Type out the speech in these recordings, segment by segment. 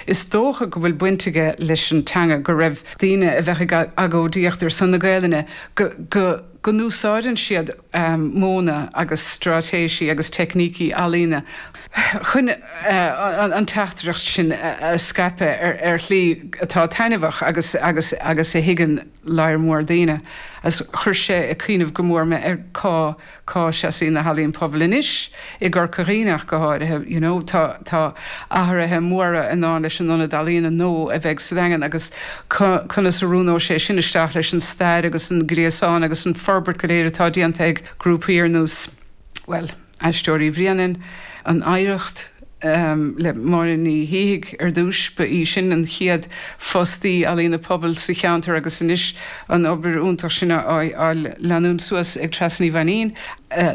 Is dócha go bhfuil baint aige leis an teanga, go raibh daoine a bheadh ag agóidíocht ar son na Gaelainne, go, go, go n-úsáideann siad modhanna agus straitéisí agus teicnící ealaíne chun an teachtaireacht sin a scaipeadh ar shlí atá taitneamhach agus agus agus a thuigeann lear mór daoine. Agus chuir sé ag cuimhneamh go mór mé ar cá cá seasaíonn na healaíon pobail anois, i gCorca Dhuibhne ach go háirithe, you know, tá tá athruithe móra i ndán leis an Ionad Ealaíona nua a bheidh sa Daingean agus conas a oiriúnóidh sé sin isteach leis an stair agus an gréasán agus an forbairt go léir atá déanta ag grúpaí ar nós, bhuel, Aisteoirí Bhréanainn, an Oidhreacht le Máire Ní Shíthigh ar dtús, ba í sin an chéad fostaí ealaíona pobail sa cheantar agus anois an obair iontach sin á leanúint suas ag Treasa Ní Mhainnín.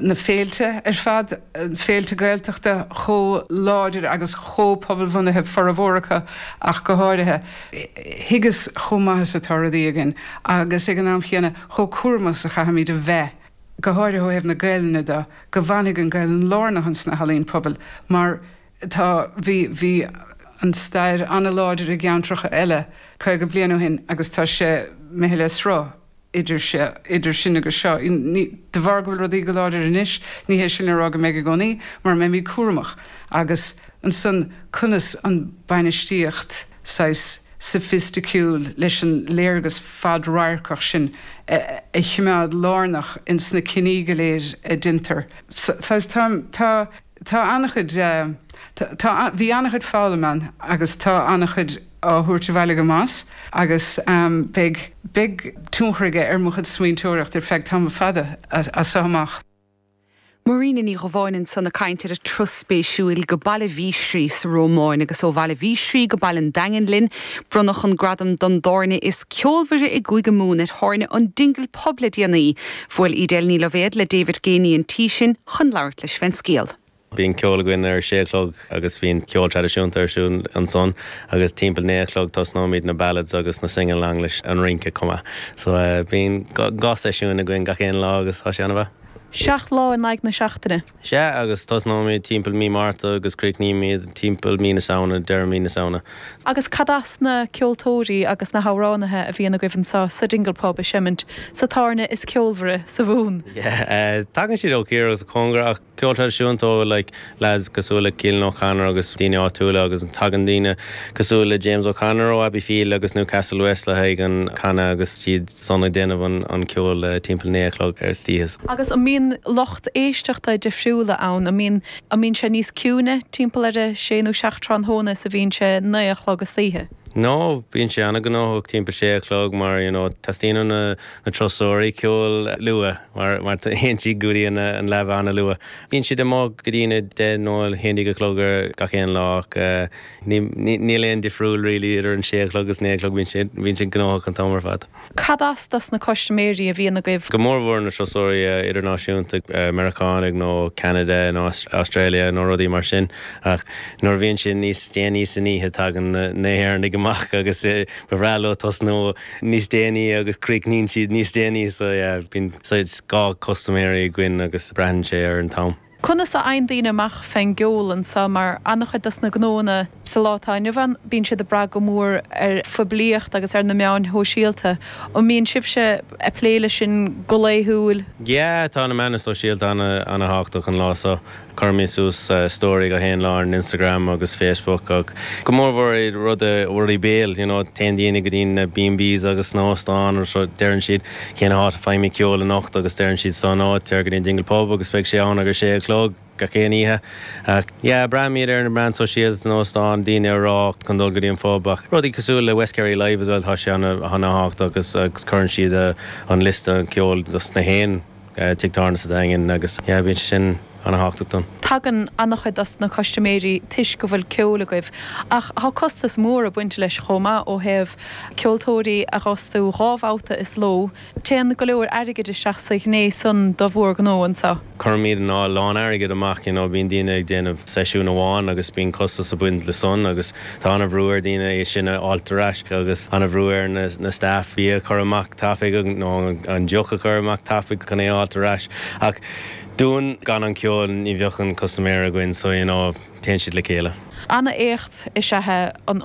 Na féilte ar fad, féilte Gaeltachta chomh láidir agus chomh pobalbhunaithe, formhór acu ach go háirithe. Thuigeas chomh maith is atá rudaí againn agus ag an am chéanna chomh cúramach is a chaithfimid a bheith. go háirithe ó thaobh na Gaelainne de, go bhfanfaidh an Ghaelainn lárnach ins na healaíon pobail mar tá, bhí, bhí an stair an-láidir i gceantracha eile 50 bliain ó shin agus tá sé imithe le sruth idir se, idir sin agus seo. Ní, de bharr go bhfuil rudaí go láidir anois, ní hé sin le rá go mbeidh i gcónaí, mura mbeimid cúramach agus ansan conas an bainistíocht saghas soifisticiúil leis an léargas fadradharcach sin a choimeád lárnach ins na cinní go léir a deintear. Saghas tá, tá, tá an-chuid, tá, bhí an-chuid foghlaim ann agus tá an-chuid á thabhairt abhaile agam as agus beidh, beidh tionchar aige ar mo chuid smaointeoireacht ar feadh tamall fada as seo amach. Marina Ní Dhubháin ansan ag caint ar a turas spéisiúil go Baile Mhísrí sa Rómáin agus ó Bhaile Mhísrí go Baile an Daingin linn. Bronnadh an gradam don dtábhairne is ceolmhaire i gCúige Mumhan ar thábhairne an Dingle Pub le déanaí. Bhuail Edel Ní Loibhéad le David Geaney an tí sin chun labhairt leis fén scéal. Bíonn ceol againn ar a sé a chlog agus bíonn ceol traidisiúnta ar siúl ansan agus timpeall 9 a chlog tosnóimid na ballads agus na sing-along leis an rince chomh maith. So bíonn dhá seisiún againn gach aon lá agus tá sé ana-mhaith. Seacht lá in aghaidh na seachtaine. Sea, agus tosnóimid timpeall mí Márta agus críochnaímid timpeall mí na Samhna, deireadh mí na Samhna. Agus cad as na ceoltóirí agus na hamhránaithe a bhíonn agaibh anseo sa Dingle Pub ag seimint sa tábhairne is ceolmhaire sa Mhumhan? Yeah, tagann siad ó chiar agus ó chóngar ach Ceol traidisiúnta ó like lads cosúil le Keelan O'Connor agus daoine áitiúla agus tagann daoine cosúil le James O'Connor ó Abbeyfeale agus Newcastle West le haghaidh an canadh agus iad san ag déanamh an an ceol timpeall 9 a chlog ar istoíche. Agus an mbíonn lucht éisteachta difriúla ann? An mbíonn an mbíonn sé níos ciúine timpeall ar a sé nó seacht tráthnóna is a bhíonn sé 9 a chlog istoíche? No, bíonn sé an-ghnóthach timpeall sé a chlog mar you know teastaíonn ó na na turasóirí ceol luath mar mar théann siad go dtí an an leaba an-luath. Bíonn siad amuigh go dtí na 10 nó 11 a chlog ar gach aon lá ach ní níl aon difriúil really idir an sé a chlog agus naoi a chlog, bíonn sé bíonn sé gnóthach an t-am ar fad. Cad as dos na custaiméirí a bhíonn agaibh? Go mórmhór na turasóirí idirnáisiúnta, Meiriceánaigh nó Ceanada nó Australia nó rudaí mar sin ach nuair a bhíonn sé níos déanaí san oíche tagann na hÉireannaigh amach agus ba bhreá leo tosnú níos déanaí agus críochnaíonn siad níos déanaí so yeah bíonn saghas dhá custaiméirí againn agus braitheann sé ar an t-am. Conas a fhaigheann daoine amach fén gceol anseo mar an-chuid dos na gnóanna sa lá atá inniu ann bíonn siad ag brath go mór ar phoiblíocht agus ar na meáin shóisialta. An mbíonn sibhse ag plé leis sin go laethúil? Yeah tá na meáin sóisialta ana-thábhachtach an lá seo. Cuirimid suas story gach aon lá ar an Instagram agus Facebook ach go mór mhór i rudaí rudaí béil you know téann daoine go dtí na B&Bs agus na hóstáin agus deireann siad cén áit a bhfaighimid ceol anocht agus deireann siad san áit téir go dtí an Dingle Pub agus beidh sé ann ag a sé a chlog gach aon oíche ach yeah braithimid ar na meáin sóisialta na hóstáin daoine a rá chun dul go dtí an phub ach rudaí cosúil le West Kerry Live as well tá sé ana ana-thábhachtach agus agus cuireann siad an liosta an ceoil dos na haon tigh tábhairne sa Daingean agus yeah bíonn sé sin ana-thábhachtach dúinn. Tagann an-chuid dos na custaiméirí toisc go bhfuil ceol agaibh ach tá costas mór ag baint leis chomh maith ó thaobh ceoltóirí a dh'fhostú dhá bhabhta is ló. Téann go leor airgid isteach sa ghné san do bhur ngnó anseo. Cuirimid a lán airgid amach you know bíonn daoine ag déanamh seisiún amháin agus bíonn costas ag baint le san agus tá ana-bhrú ar daoine é sin a fháilt ar ais agus ana-bhrú ar na staff bia a chur amach tapaidh nó an deoch a chur amach tapaidh chun é a fháilt ar ais ach dúinn gan an ceol ní bheadh an custaiméir againn so you know téann siad le chéile. Ana-éacht is ea é an.